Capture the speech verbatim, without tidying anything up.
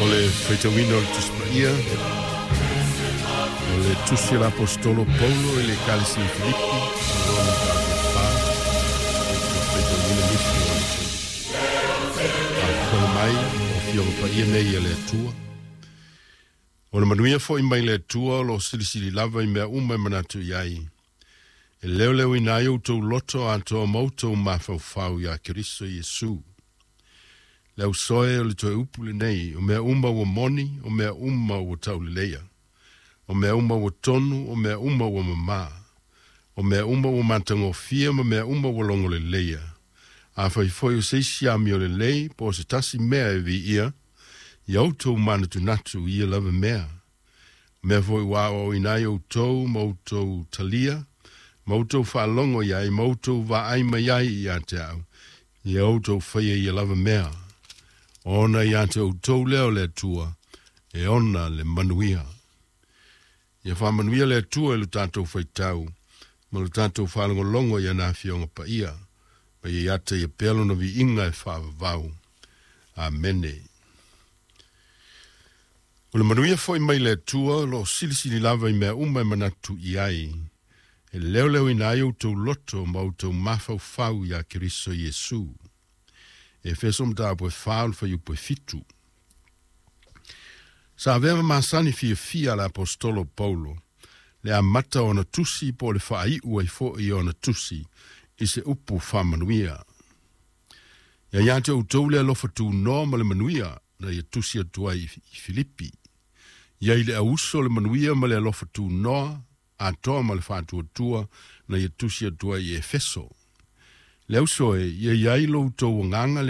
O le faitauina o le Tusi Paia, o le Tusi a le Aposetolo Paulo i le Ekalesia i Filipi, o lona mataupu e fa, ou te faitauina nisi o le faafofoga mai o Afioga Paia nei a le Atua. O le manuia foi mai le Atua o lo o silisili lava i mea uma e manatu i ai. E leoleoina ai outou loto atoa ma outou mafaufau iā Keriso Iesu. Le ausoe o le toe upu lenei, o mea uma ua moni, o mea uma ua tauleleia, o mea uma ua tonu, o mea uma ua mamā, o mea uma ua matagofie ma mea uma ua logoleleia. Afai foi o se isi amiolelei po o se tasi mea e viia, ia outou manatunatu i ia lava mea. O mea foi ua aoaoina ai outou ma outou talia, ma outou faalogo i ai, ma outou vaai mai ai ia te au, ia outou faia ia lava mea. Ona ia te outou lea o le Atua, e ona le manuia. Ia faamanuia le Atua i lo tatou faitau, ma lo tatou faalogologo i ana Afioga Paia, ma ia ia te ia pea lona viiga e faavavau. Amene. O le manuia foi mai le Atua o lo o silisili lava i mea uma e manatu i ai, e leoleoina ai outou loto ma outou mafaufau iā Keriso Iesu. Efeso mataupu e fa o le fuaiupu e fitu. Sa avea ma masani fiafia a le Aposetolo Paulo le amata o ana tusi po o le faaiu ai foi o ana tusi i se upu faamanuia. Ia ia te outou le alofa tunoa ma le manuia na ia tusi atu ai i Filipi. Ia i le auso le manuia ma le alofa tunoa atoa ma le faatuatua na ia tusi atu ai i Efeso. Le auso e, ia i ai lo outou agaga le